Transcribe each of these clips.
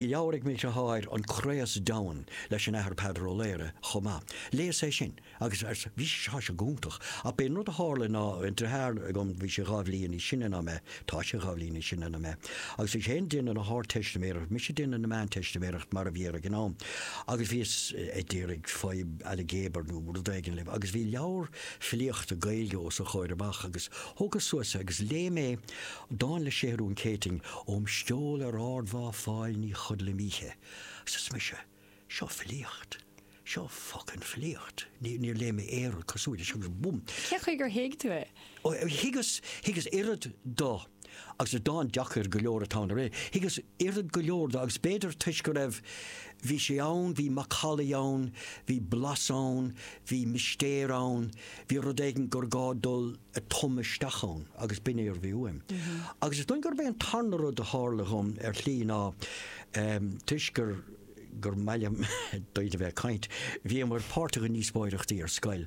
Leabhar ag mo dheartháir, An Craos Domhain, leis an Athair Peadar Ó Laoghaire chomh maith. Léas é sin agus bhí sé seo go hiontach. Ach b'é an rud a tharla ná, an deartháir agam, bhí sé 2 bhliain níos sine ná mé, tá sé 2 bhliain níos sine ná mé, agus bhí sé féin ag déanamh na hArdteistiméireachta, mise ag déanamh na Meánteistiméireachta mar a bhí air ag an am, agus bhíos ag iarraidh fadhb ailgéabar nó rud éigin libh agus bhí leabhar filíochta Gaeilge os a chomhair amach agus thógas suas é agus léigh mé Dán le Séathrún Céitinn, Óm steall ar ardmhá Fáil ní chodlaim oíche. Agus arsa mise, seo filíocht. Seo focain filíocht. Níor léigh mé aon rud cosúil leis agus bum! Cén chaoi gur thuig tú é? Ó, thuigeas, thuigeas oiread do, agus is dán deacair go leor atá ann, thuigeas oiread go leor do agus b'fhéidir toisc go raibh, bhí sé ann, bhí macallaí ann, bhí blas ann, bhí mistéir ann, bhí rud éigin gur gá dul ag tumadh isteach ann agus b'in é a bhí uaim. Agus is dóigh gurb é an tarna rud a tharla dhom ar shlí ná toisc gur gur maith liom daoine a bheith ag caint, bhíomar páirteach i ndíospóireachtaí ar scoil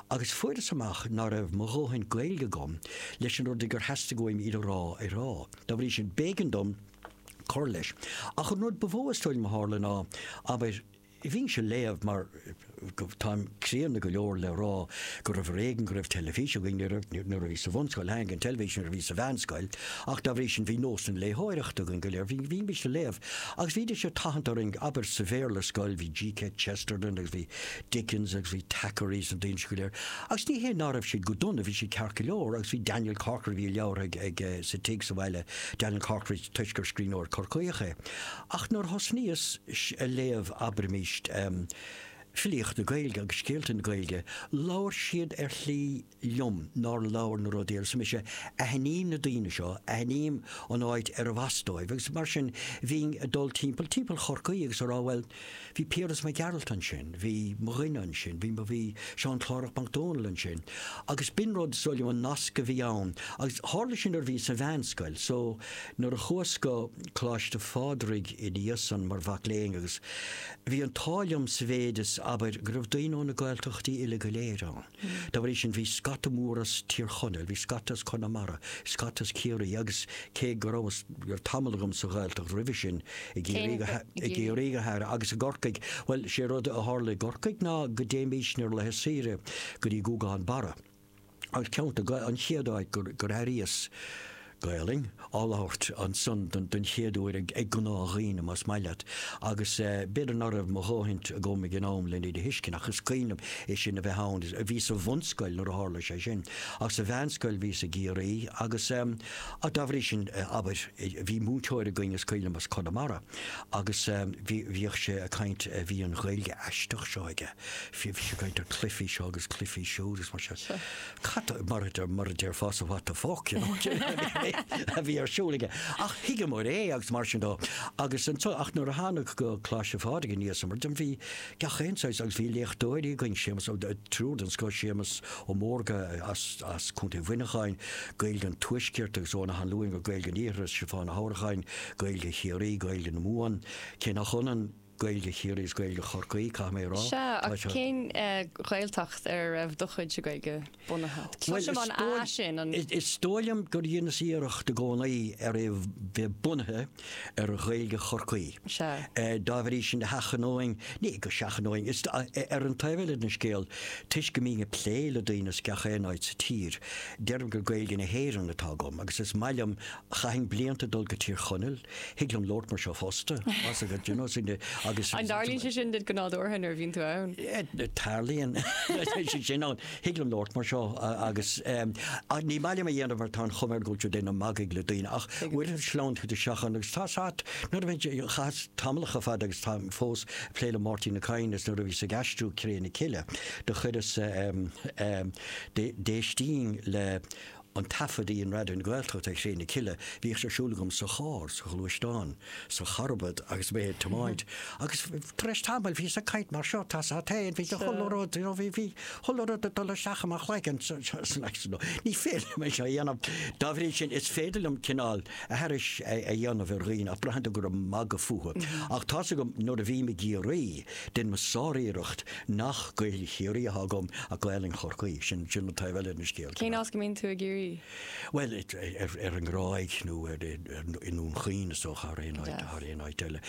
agus fuaireas amach ná raibh mo dhóthain Gaeilge agam leis an rud gur theastaigh uaim iad a rá a rá. Dá bhrí sin, b'éigean dom cur leis. Ach an rud ba mhó is dóigh liom a tharla ná, abair, Bhínnse ag léamh mar táim críonna go leor le rá go raibh ar éigean go raibh teilifís againn nuair a bhíos sa bhunscoil, tháinig an teilifís nuair a bhíos sa mheánscoil ach dá bhrí sin bhí nós na léitheoireachta againn go léir, bhímís ag léamh agus bhídís ag tathant orainn, abair sa Bhéarla scoil bhí G.K. Chesterton agus bhí Dickens agus bhí Thackeray is na daoine sin go léir agus ní hé ná raibh siad go dona, bhí siad ceart go leor agus bhí Daniel Corkery, bhí a leabhar ag, ag, sa tigh sa bhaile, Daniel Corkery toisc gur scríbhneoir Corcaíoch é. Ach nuair a thosnaíos ag léamh, abraimis, filíocht na Gaeilge agus scéalta na Gaeilge, labhair siad ar shlí liom nár labhair na rudaí eile. Arsa mise, aithním na daoine seo, aithním an áit arbh as dóibh agus mar sin bhínn ag dul timpeall, timpeall Chorcaí agus ag rá, bhuel, Bhí Piaras Mac Gearailt ansin, bhí mo dhuine ansin, bhí mo, bhí Seán Clárach Mac Dónaill ansin agus b'in rud, is dóigh liom, an nasc a bhí ann agus tharla sin nuair a bhíos sa mheánscoil so nuair a chuas go Coláiste Phádraig ina dhiaidh san mar mhac léinn agus bhí an t-ádh liom sa mhéid is, abair, go raibh daoine ó na Gaeltachtaí uile go léir ann. Dá bhrí sin bhí scata mór as Tír Chonaill, bhí scata as Conamara, scata as Ciarraí agus cé go rabhas, raibh tamall agam sa Ghaeltacht roimhe sin, i gCiarraí go, i gCiarraí go háirithe agus i gCorcaigh, bhuel, sé rud a tharla i gCorcaigh ná go dtéimísne ar laetha saoire go dtí Gúgán Barra agus ceann de, an chéad áit gur, gur airíos Gaelainn á labhairt ansan don chéad uair ag gnáthdhaoine, más maith leat, agus b'fhéidir ná raibh mo dhóthaint agam ag an am len iad a thuiscint, ach is cuimhin liom é sin a bheith ann. Bhíos sa bhunscoil nuair a tharla sé sin, ach sa mheánscoil bhíos i gCiarraí agus dá bhrí sin, abair, bhí múinteoir againn, is cuimhin liom, as Conamara agus bhí, bhíodh sé ag caint, bhí an Ghaeilge aisteach seo aige, bhí sé ag caint ar cluichí seo agus cluichí siúd agus mar sin. Cad, mar a mar a déarfása what the fuck, you know, a bhí ar siúl aige. Ach thuigeamar é agus mar sin dó. Agus anso, ach nuair a thánag go Coláiste Phádraig aníos mar sin, bhí gach aon saghas agus bhí léachtóirí againn, Séamus Ó, triúr den scoth, Séamus Ó Mórdha as, as Contae Mhuineacháin, Gaeilge an Tuaiscirt agus Eoghan Ó hAnluain, Gaeilge an Iarthair, Stiofán Ó hOdhracháin, Gaeilge Chiarraí, Gaeilge na Mumhan, cé nach ionann, Gaeilge Chiarraí is Gaeilge Chorcaí, caithfidh mé a rá. Sea, ach cén Ghaeltacht ar a raibh do chuidse Gaeilge bunaithe? Cloisim an A sin, an. Is dóigh liom gur dheineas iarracht i gcónaí ar é bheith bunaithe ar Ghaeilge Chorcaí. Sea. Dá bhrí sin, sheachnóinn, ní go seachnóinn, is ar an taobh eile den scéal, toisc go mbínn ag plé le daoine as gach aon áit sa tír, deirim gur Gaeilge na hÉireann atá agam agus is maith liom, chaithfinn blianta dul go Tír Chonaill, Thig liom labhairt mar seo fosta, más agat, you know, sin agus. An dtarlaíonn sé sin duit go nádúrtha nuair a bhíonn tú ann? Tarlaíonn sé sin ann. Thig liom labhairt mar seo agus ní maith liom a dhéanamh mar tá an chuma air go bhfuil tú ag déanamh magaidh le daoine ach uaireanta sleamhnaíonn tú isteach ann agus tá sat nuair a bhíonn chaitheas tamallacha fada agus táim fós ag plé le Máirtín Ó Cadhain is nuair a bhíos ag aistriú Cré na Cille do chuireas d'éistínn le An taifead a dhein Raidió na Gaeltachta ar Chré na Cille, bhíodh sé ar siúl agam sa charr, sa ghluaisteán, sa charbad agus mé ag tiomáint agus tar éis tamaill bhíos ag caint mar seo, tá sa féin, bhí chuile rud, you know, bhí, bhí chuile rud ag dul isteach i mo chloigeann, so, ní féidir liom é seo a dhéanamh. Dá bhrí sin, is féidir liom cineál aithris a dhéanamh ar dhaoine ach braitheann tú gur ag magadh fúthu. Ach tá's agam nuair a bhím i gCiarraí, Deinim sáriarracht nach Gaeilge Chiarraí atá agam ach Gaelainn Chorcaí. Sin, sin an taobh eile den scéal. Cén áit go mbíonn tú i gCiarraí? Ciarraí? Bhuel, ar an nGráig nó i nDún Chaoin is dócha thar aon áit, thar aon áit eile.